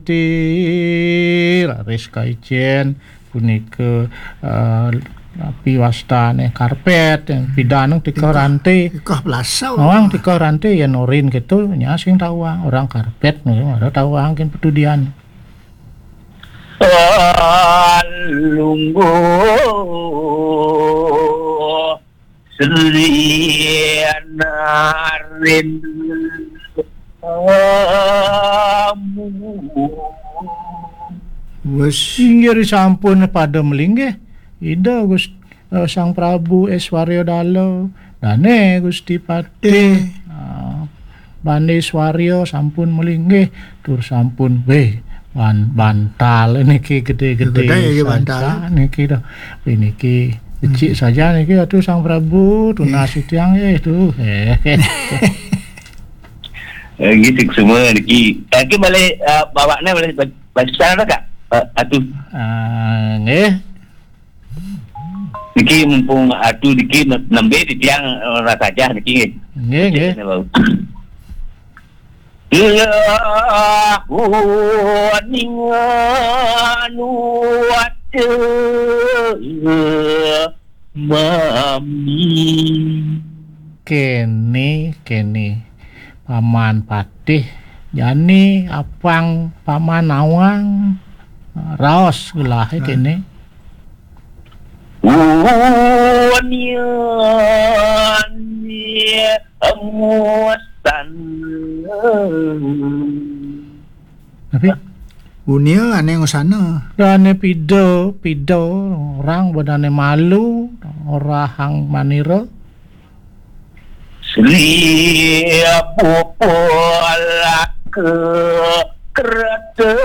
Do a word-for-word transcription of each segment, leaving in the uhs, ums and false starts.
Ti raris kaicén punika, eh, napi wastané karpet, pidan tika ranté. Ikah pelasau. Nawang tika ranté yén orin kéto, nya sing tawang. Orang karpet, ora tawang kén petudian. Lungguh Sri Narin. Wes. Inggih sampun pada melinggih. Ida Gus-, eh, Sang Prabu Aiswarya Dala, dané Gusti Patih. Ah, Bande Swarya sampun melinggih, tur sampun, wéh, ban-, bantal niki gedé-gedé. Gedé niki saja bantal. Niki dah. Wéh, niki becik saja niki, atuh Sang Prabu, tunas titiang, eh, tuh. Eh. Eh, nggih, sing semua niki. Niki malih, eh, bawakna malih ba-, basa dah, Kak? Eh, atuh. Ah, nggih. Niki mumpung atuh niki ne-, nembé titiang, eh, rasajah niki. Nggih, nggih. Lah, uning anu waca mami. Kéné, kéné. Paman Patih, jani apang Paman nawang, raos gelahé kéné. Unyani emusan. Tapi unia ané ngusana. Dané pida, pida orang bedané malu, orahang manira. Sri Bupalaka Kertawirya.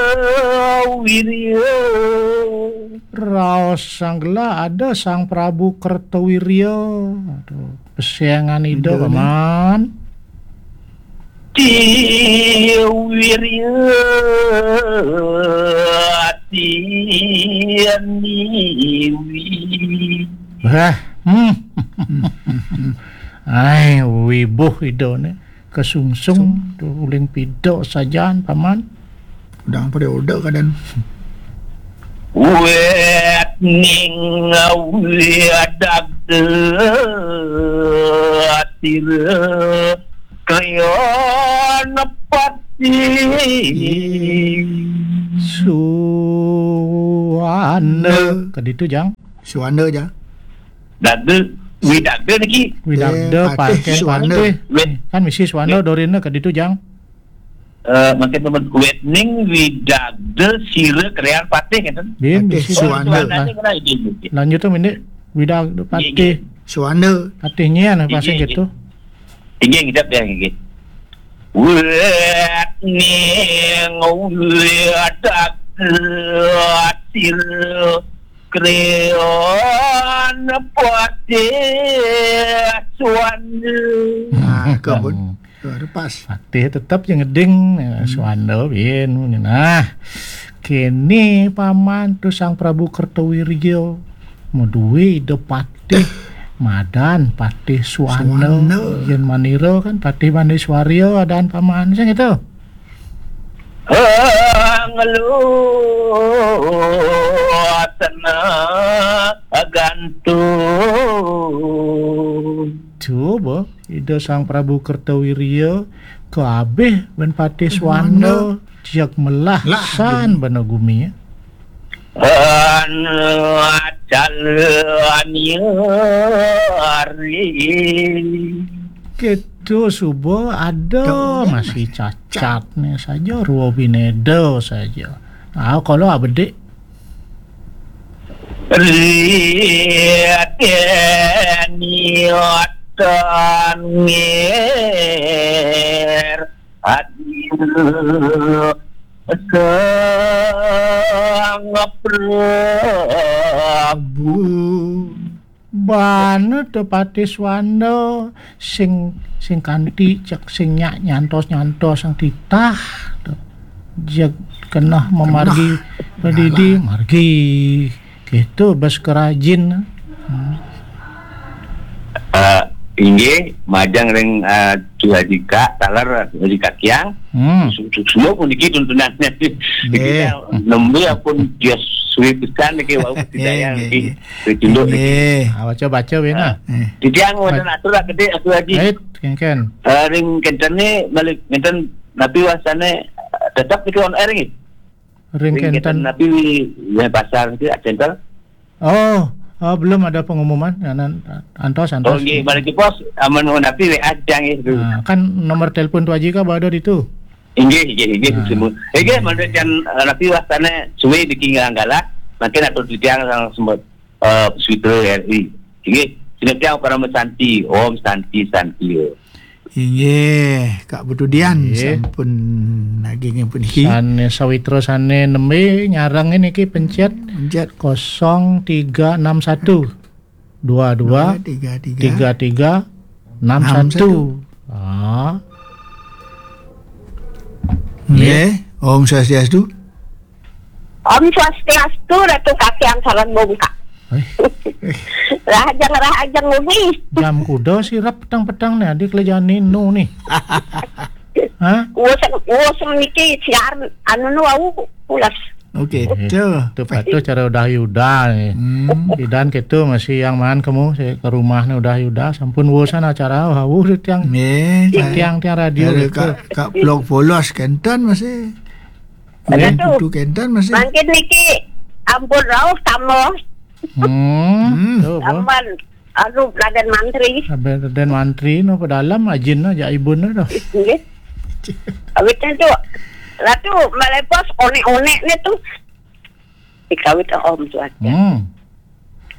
Raos sang gelah ada Sang Prabu Kertawirya. Aduh, pesengan ida, Ida, Paman. Tiwirya tiniwi. Bah, hmm. Ai, wibuh ida né. Kesungsung, tuh uling pida sajan, Paman. Udang pada udah keadaan. Wet ning wet dagda sira kriya nepati. Suwana. Ke ditu, Jang. Suwana, Jang. Dagda, widagda niki. Widagda, eh, Patih, Patih, Suwana. Patih. Wit. Kan misi Suwana, wit. Dorina ke ditu, Jang. Eh, mangkin temen, wit ning widagda sira kriya nepati, ngéten. Bin, Patih, misi Suwana. Suwananya kena ini, ini. Lanjut tuh, ini. Widagda, nggih, Patih. Nggih. Suwana. Patih nyen, nggih, pasang nggih, gitu. Inggih, ngidap ya, inggih. Wet ning widagda sira kriya nepati Suwana. Nah, kebun. Hmm. Tuh, ada pas. Patih tetep yang ngeding, eh, hmm. Suwana bin, nah. Kéné Paman tuh Sang Prabu Kertawirya. Madué ida patih, madan Patih Suwana. Suwana. Yén manira kan Patih Bande Swarya adan Paman sing itu. Ngeluh tenang gantung. Coba, ida Sang Prabu Kertawirya, kabéh bén Patih Suwana, Suwana. Jek melah, lah, san gini. Bana gumi. Anu calon nyari. Gitu, suba ada. Tuh, masih cacat nih saja, ruwa bineda saja. Ah, kalau abedik. Riateni otan ngir. Hadir Sang Prabu. Bana to Patih Suwana sing, sing kanti cek sing nyak nyantos-nyantos sang titah to. Jeg keneh memargi pedidi margi. Gitu bes kerajin. Hmm. Eh, Inggih, majeng ring, eh, Tuaji Kak, taler Tuaji Kakiang. Hmm. Su-, su-, semua puniki tuntunannya. Nggih. Jadi, nembe pun dia suwe pisan niki wau budidaya nggih, niki. Nggih. Wis tunduk niki. Nggih. Ah, baca-baca wena. Ah. Eh. Titiang wonten atur gedhe Tuaji. Ait, kengken. Eh, ring kenten ni balik kenten napi wastane, eh, tetep niki on air nggih. Ring kenten. Ring kenten napi wi, wi pasar niki center. Oh, oh, belum ada pengumuman. Ya, nan-, antos, antos. Oh, nggih, balik pos, amun napi W A aja nggih. Nah, kan nomor telepon Tuaji Kak ada di itu. Inggih, inggih, inggih, nah. Semua. Inggih, mangda jan, eh, napi wastane suwe niki nganggala, mangkin atur titiang sang semut, eh, Switra R I. Inggih, sinetya parama santi, Om Santi, Santi. Inggih, Kak Putu Dian, nggih. Sampun nagingin puniki. Sane sawitra sane nembe nyareng niki pencet. Pencet. Kosong tiga enam satu dua dua tiga tiga enam satu. Ah. Nggih, Om Swastiastu. Om Swastiastu, Ratu Kakiang sareng Bongkak. Eh. Rahajeng, rahajeng wengi. Jam kuda sirep petang-petang nih, adik lejani nu nih. Hah? Wosem, wosem niki siar anu nu wau pulas. Oke, eh, tuh. Tuh patuh cara udah Yuda nih. Hmm. Idan gitu masih yang man kamu, saya ke rumahnya udah Yuda, sampun wosan acara, wau tiang. Nggih, tiang-tiang radio ada gitu. Kak, Kak Blok Bolos kenten masih. Ada tuh. Kudu kenten masih. Mangkin niki ampun rauh tambah. Hmm. Hmm. Tuh, apa? Tambah anu Raden Mantri. Raden Mantri no pedalam ajin aja ibun no. Nggih. Awit itu Ratu melepos onek-onek ni tu. Dikawit Om Tuan. Hmm.